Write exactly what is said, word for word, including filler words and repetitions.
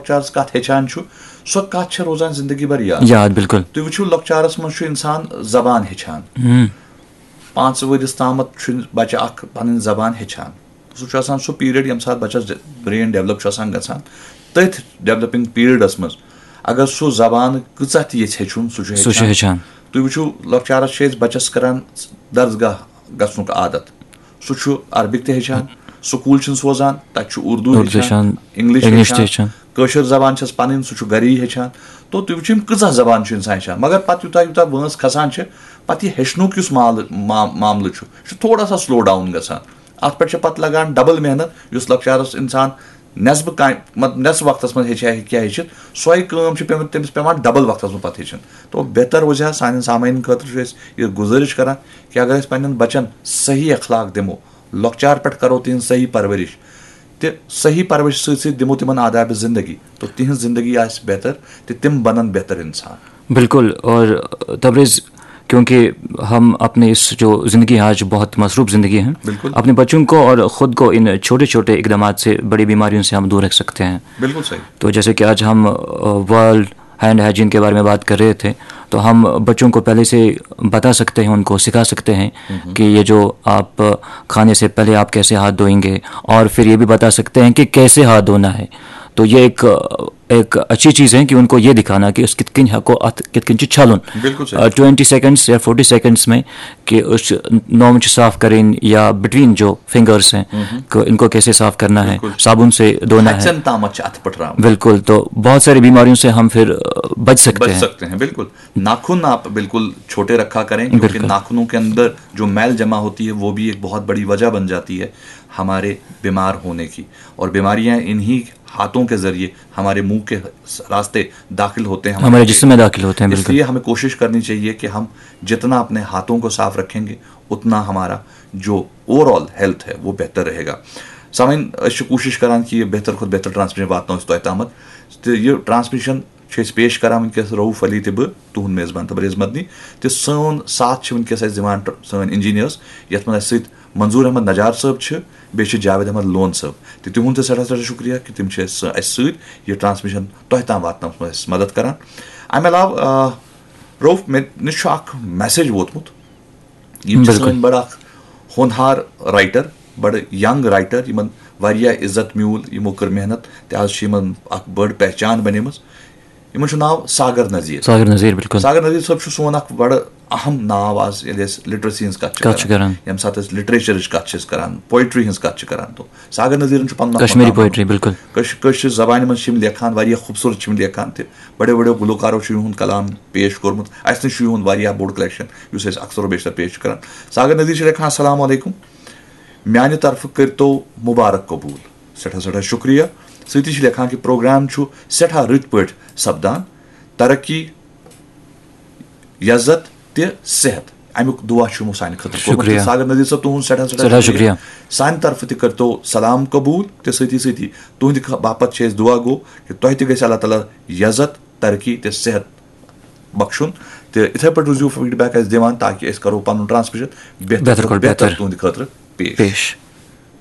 لۄکچارس کتھ ہیٚچھان چھُ، سۄ کتھ چھےٚ روزان زندگی بھر یاد۔ یاد، بالکل۔ تُہۍ وٕچھِو، لۄکچارس منٛز چھُ انسان زبان ہیٚچھان۔ ہم، پانٛژھ ؤرِس تامتھ چھُ بچہِ اکھ پنٕنۍ زبان ہیٚچھان۔ سُہ چھُ آسان سُہ پیریڈ ییٚمہِ ساتہٕ بچس برین ڈیولپ چھُ آسان گژھان۔ تٔتھۍ ڈیولپنگ پیریڈس منٛز اگر سُہ زبان کۭژاہ تہِ یژھِ ہیٚچھُن، سُہ چھُ سُہ چھُ ہیٚچھان۔ تُہۍ وٕچھِو، لۄکچارس چھِ أسۍ بچس کران درسگاہ گژھنُک عادت۔ سُہ چھُ عربِک تہِ ہیٚچھان، سکوٗل چھِن سوزان، تتہِ چھُ اردو اردو ہیٚچھان، ہیٚچھان، انگلش انگلش تہِ ہیٚچھان، ہیٚچھان۔ کٲشِر زبان چھس پنٕنۍ، سُہ چھُ گری ہیٚچھان۔ تو تُہۍ وٕچھِو، یِم کۭژاہ زبان چھُ انسان ہیٚچھان، مگر پتہٕ یوٗتاہ یوٗتاہ وٲنٛس کھسان چھِ، پتہٕ یہِ ہیٚچھنُک یُس مال-، ما-، معاملہٕ چھُ، یہِ چھُ تھوڑا سا سلو ڈاوُن گژھان۔ اتھ پٮ۪ٹھ چھِ پتہٕ لگان ڈبل محنت۔ یُس لۄکچارس انسان نٮ۪صبہٕ کامہِ، مطلب، نٮ۪صبہٕ وقتس منٛز ہیٚچھِ ہا، ہیٚکہِ ہا ہیٚچھِتھ، سۄے کٲم چھِ پیٚمٕژ تٔمِس پٮ۪وان ڈبل وقتس منٛز پتہٕ ہیٚچھِنۍ۔ تو بہتر روزِ ہا سانٮ۪ن سامعیٖنن خٲطرٕ، چھُ أسۍ یہِ گُزٲرِش کران کہ اگر أسۍ پننٮ۪ن بچن صحیح اخلاق دِمو، لۄکچار پٮ۪ٹھ کرو تِہنٛز صحیح پرورش، تہٕ صحیح پرورش سۭتۍ سۭتۍ دِمو تِمن آداب زندگی، تو تِہنٛز زندگی آسہِ بہتر، تہٕ تِم بنن بہتر انسان۔ بالکل۔ اور تبریز، کیونکہ ہم اپنے اس جو زندگی ہے، آج بہت مصروف زندگی ہے، بالکل۔ اپنے بچوں کو اور خود کو ان چھوٹے چھوٹے اقدامات سے، بڑی بیماریوں سے ہم دور رکھ سکتے ہیں۔ بالکل صحیح۔ تو جیسے کہ آج ہم ورلڈ ہینڈ ہائیجین کے بارے میں بات کر رہے تھے، تو ہم بچوں کو پہلے سے بتا سکتے ہیں، ان کو سکھا سکتے ہیں کہ یہ جو آپ کھانے سے پہلے آپ کیسے ہاتھ دھوئیں گے، اور پھر یہ بھی بتا سکتے ہیں کہ کیسے ہاتھ دھونا ہے۔ تو یہ ایک ایک اچھی چیز ہے کہ ان کو یہ دکھانا کہ اس کِتھ کٔنۍ ہٮ۪کو اتھ کِتھ کٔنۍ چھُ چھلُن۔ بالکل صحیح۔ ٹوینٹی سیکنڈس یا فورٹی سیکنڈس میں کہ اس نوم چھُ صاف کرٕنۍ یا بٹوین جو فنگرس ہیں، کہ ان کو کیسے صاف کرنا ہے، بالکل۔ صابن سے دھونا ہے۔ ہچن تامت چھِ اتھٕ پٹھراوان۔ بالکل، تو بہت ساری بیماریوں سے ہم پھر بچ سکتے بچ ہیں۔ سکتے ہیں، بالکل۔ ناخن آپ بالکل چھوٹے رکھا کریں، کیونکہ بالکل۔ ناخنوں کے اندر جو میل جمع ہوتی ہے، وہ بھی ایک بہت بڑی وجہ بن جاتی ہے ہمارے بیمار ہونے کی۔ اور بیماریاں انہی ہاتھوں کے ذریعے ہمارے منہ کے راستے داخل ہوتے ہیں، ہمارے جسم میں داخل ہوتے ہیں، اس بالکل۔ لیے ہمیں کوشش کرنی چاہیے کہ ہم جتنا اپنے ہاتھوں کو صاف رکھیں گے، اتنا ہمارا جو اوور آل ہیلتھ ہے، وہ بہتر رہے گا۔ سامعین، أسۍ چھِ کوٗشِش کران کہِ یہِ بہتر کھۄتہٕ بہتر ٹرانسمیشن واتناوو أسۍ تۄہہِ تامَتھ۔ تہٕ یہِ ٹرانسمیشن چھِ أسۍ پیش کران وٕنکیٚس رؤف علی تہٕ بہٕ، تُہُنٛد میزبان تبریز مدنی۔ تہٕ سون ساتھ چھِ وٕنکیٚس اَسہِ دِوان ٹر-، سٲنۍ انجینئرس، یَتھ منٛز اَسہِ سۭتۍ منظور احمد نجار صٲب چھِ، بیٚیہِ چھِ جاوید احمد لون صٲب۔ تہٕ تِہُنٛد تہِ سٮ۪ٹھاہ سٮ۪ٹھاہ شُکریہ کہِ تِم چھِ اَسہِ سۭ-، اَسہِ سۭتۍ یہِ ٹرانسمیشن تۄہہِ تام واتناونَس منٛز اَسہِ مدد کران۔ اَمہِ علاوٕ، آ، رؤف، مےٚ نِش چھُ اکھ میسیج ووتمُت۔ یِم چھِ بِلکُل۔ سٲنۍ بڑٕ اکھ ہونہار رائٹر، بڑٕ ینگ رائٹر، یِمن واریاہ عزت میوٗل، یِمو کٔر محنت، تہِ حظ چھِ یِمن اکھ بٔڑ پہچان بنیمٕژ۔ یِمن چھُ ناو ساگر نذیر۔ ساگر نذیر، بِلکُل۔ ساگر نذیر صٲب چھُ سون اکھ بڑٕ اہم ناو آز، ییٚلہِ أسۍ لٹریسی ہٕنٛز کتھ چھِ کتھ چھِ کران۔ ییٚمہِ ساتہٕ أسۍ لٹریچرٕچ کتھ چھِ أسۍ کران، پوئٹری ہٕنٛز کتھ چھِ کران، تو ساگر نذیرن چھُ پنُن اکھ کشمیٖری مقام۔ پوئٹری، بِلکُل۔ کٲش-، کٲشرِ زبانہِ منٛز چھِ یِم لیکھان، واریاہ خوٗبصوٗرت چھِ یِم لیکھان تہِ۔ بڑیو بڑیو گلوکارو چھُ یِہُنٛد کلام پیش کوٚرمُت۔ اَسہِ نِش چھُ یِہُنٛد واریاہ بوٚڑ کلیکشن، یُس أسۍ اکثر و بیشتر پیش چھِ کران۔ ساگر نذیر چھِ لیکھان، السلام علیکم، میانہِ طرفہٕ کٔرۍتو مُبارک قبوٗل۔ سٮ۪ٹھاہ سٮ۪ٹھاہ شُکریہ۔ سۭتی چھِ لیکھان کہِ پروگرام چھُ سٮ۪ٹھاہ رٕتۍ پٲٹھۍ سپدان۔ ترقی، عزت تہٕ صحت، اَمیُک دُعا چھُ یِمو سانہِ خٲطرٕ کوٚرمُت۔ شُکریہ۔ تہٕ ساگر نذیر صٲب، تُہُنٛد سٮ۪ٹھاہ سٮ۪ٹھاہ سٮ۪ٹھاہ شُکریہ۔ شُکریہ۔ سانہِ طرفہٕ تہِ کٔرۍتو سلام قبوٗل تہٕ سۭتی سۭتی تُہٕنٛدِ خ-، باپتھ چھِ أسۍ دُعا گو کہِ تۄہہِ تہِ گژھِ اللہ تعالیٰ عزت، ترقی تہٕ صحت بخشُن۔ تہٕ یِتھَے پٲٹھۍ روٗزِو فیٖڈ بیک اَسہِ دِوان، تاکہِ أسۍ کَرو پَنُن ٹرانسمیشن بہتر بہتر کھۄتہٕ کھۄتہٕ بہتر بہتر۔ تُہٕنٛدِ خٲطرٕ پیش۔ پیش۔